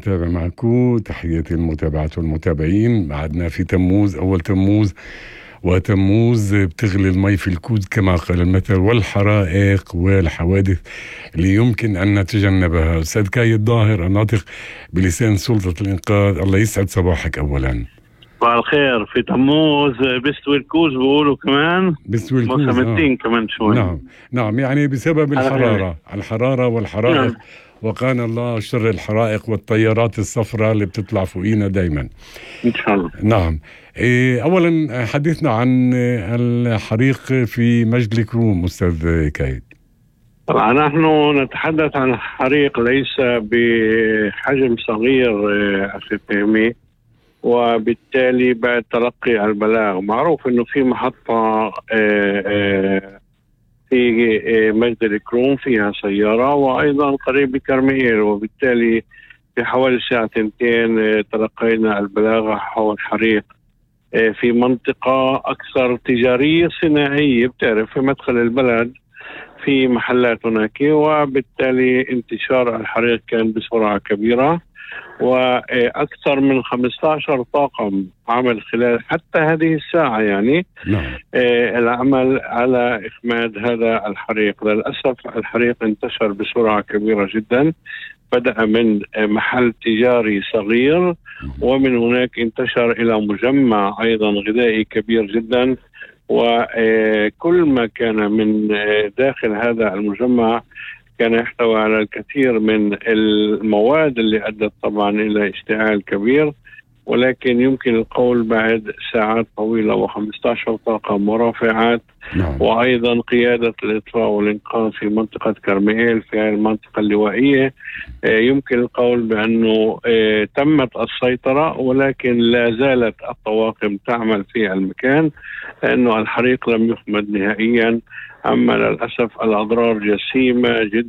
متابع معكم. تحياتي للمتابعات والمتابعين. بعدنا في تموز، أول تموز، وتموز بتغلي المي في الكوز كما قال المثل، والحرائق والحوادث اللي يمكن أن نتجنبها. أستاذ كايد ظاهر الناطق بلسان سلطة الإنقاذ، الله يسعد صباحك. أولا صباح الخير. في تموز بيستوي الكوز بيقولوا كمان، بيستوي الكوز موسم كمان شوي. نعم يعني بسبب الحرارة والحرائق. نعم. وقانا الله شر الحرائق والطيارات الصفراء اللي بتطلع فوقينا دايما إن شاء الله. نعم. أولا حدثنا عن الحريق في مجد الكروم أستاذ كايد. طبعا نحن نتحدث عن حريق ليس بحجم صغير أخي فهمي، وبالتالي بعد تلقي البلاغ معروف انه في محطة في مجد الكروم فيها سيارة، وايضا قريب بكرميل، وبالتالي في حوالي الساعة 2 تلقينا البلاغ حول حريق في منطقة اكثر تجارية صناعية، بتعرف في مدخل البلد في محلات هناك، وبالتالي انتشار الحريق كان بسرعة كبيرة، وأكثر من 15 طاقم عمل خلال حتى هذه الساعة يعني العمل على إخماد هذا الحريق. للأسف الحريق انتشر بسرعة كبيرة جدا، بدأ من محل تجاري صغير، ومن هناك انتشر إلى مجمع أيضا غذائي كبير جدا، وكل ما كان من داخل هذا المجمع كان يحتوي على الكثير من المواد اللي أدت طبعا إلى اشتعال كبير، ولكن يمكن القول بعد ساعات طويلة و15 طاقم ورافعات وأيضا قيادة الإطفاء والإنقاذ في منطقة كرميل في هذه المنطقة اللوائية، يمكن القول بأنه تمت السيطرة، ولكن لا زالت الطواقم تعمل في المكان لأنه الحريق لم يخمد نهائيا. أما للأسف الأضرار جسيمة جدا.